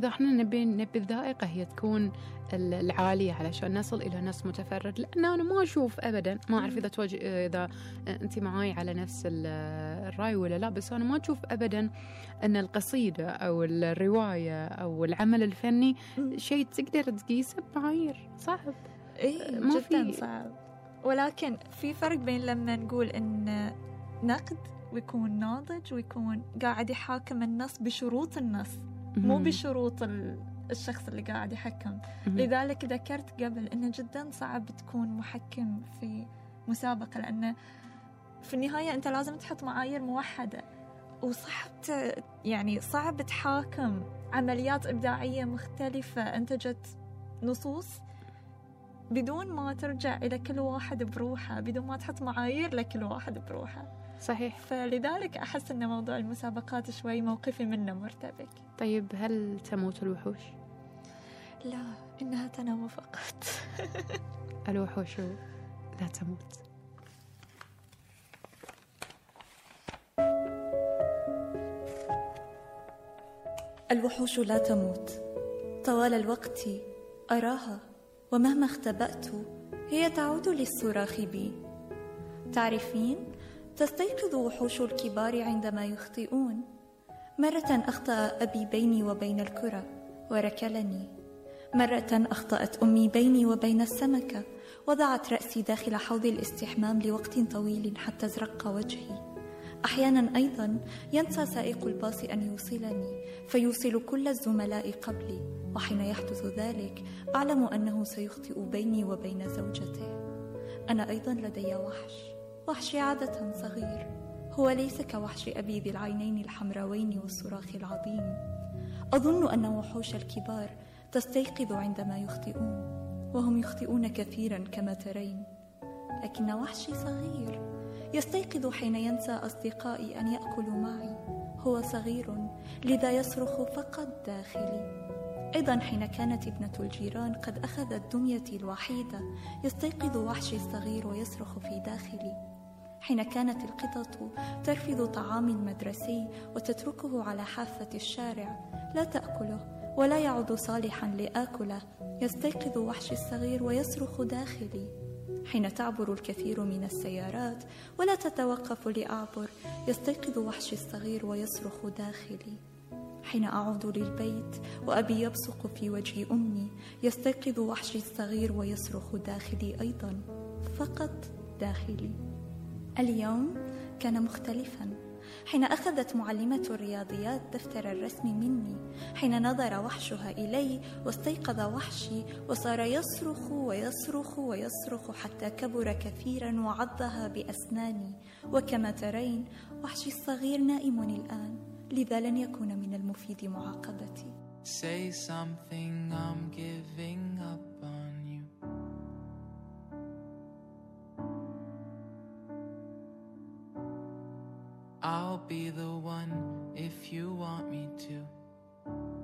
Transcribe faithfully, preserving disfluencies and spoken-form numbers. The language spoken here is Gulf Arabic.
إذا إحنا نبي نبي الذائقة هي تكون العالية علشان نصل إلى نص متفرد، لأن أنا ما أشوف أبدا، ما أعرف إذا توج... إذا أنت معاي على نفس الرأي ولا لا، بس أنا ما أشوف أبدا أن القصيدة أو الرواية أو العمل الفني شيء تقدر تقيسه بمعايير. صعب. إيه ما جدا في... صعب. ولكن في فرق بين لما نقول إن نقد ويكون ناضج ويكون قاعد يحاكم النص بشروط النص، مو بشروط الشخص اللي قاعد يحكم. لذلك ذكرت قبل إنه جدا صعب تكون محكم في مسابقة، لأنه في النهاية أنت لازم تحط معايير موحدة، وصعب يعني صعب تحاكم عمليات إبداعية مختلفة أنتجت نصوص بدون ما ترجع إلى كل واحد بروحه، بدون ما تحط معايير لكل واحد بروحه. صحيح. فلذلك أحس أن موضوع المسابقات شوي موقفي منه مرتبك. طيب هل تموت الوحوش؟ لا، إنها تنام فقط. الوحوش لا تموت. الوحوش لا تموت. طوال الوقت أراها، ومهما اختبأت هي تعود للصراخ بي. تعرفين، تستيقظ وحوش الكبار عندما يخطئون. مرة أخطأ أبي بيني وبين الكرة وركلني. مرة أخطأت أمي بيني وبين السمكة، وضعت رأسي داخل حوض الاستحمام لوقت طويل حتى ازرق وجهي. أحيانا أيضا ينسى سائق الباص أن يوصلني، فيوصل كل الزملاء قبلي، وحين يحدث ذلك أعلم أنه سيخطئ بيني وبين زوجته. أنا أيضا لدي وحش، وحشي عادة صغير، هو ليس كوحش أبي ذي العينين الحمراوين والصراخ العظيم. أظن أن وحوش الكبار تستيقظ عندما يخطئون، وهم يخطئون كثيرا كما ترين، لكن وحشي صغير يستيقظ حين ينسى أصدقائي أن يأكلوا معي. هو صغير لذا يصرخ فقط داخلي. أيضا حين كانت ابنة الجيران قد أخذت دميتي الوحيدة، يستيقظ وحشي الصغير ويصرخ في داخلي. حين كانت القطط ترفض طعام المدرسي وتتركه على حافة الشارع لا تأكله ولا يعد صالحا لآكله، يستيقظ وحشي الصغير ويصرخ داخلي. حين تعبر الكثير من السيارات ولا تتوقف لأعبر، يستيقظ وحشي الصغير ويصرخ داخلي. حين أعود للبيت وأبي يبصق في وجه أمي، يستيقظ وحشي الصغير ويصرخ داخلي أيضا، فقط داخلي. اليوم كان مختلفا. حين أخذت معلمة الرياضيات دفتر الرسم مني، حين نظر وحشها إلي واستيقظ وحشي وصار يصرخ ويصرخ ويصرخ حتى كبر كثيرا وعضها بأسناني. وكما ترين وحشي الصغير نائم الآن، لذا لن يكون من المفيد معاقبتي. Say something, I'm giving up on you. I'll be the one if you want me to.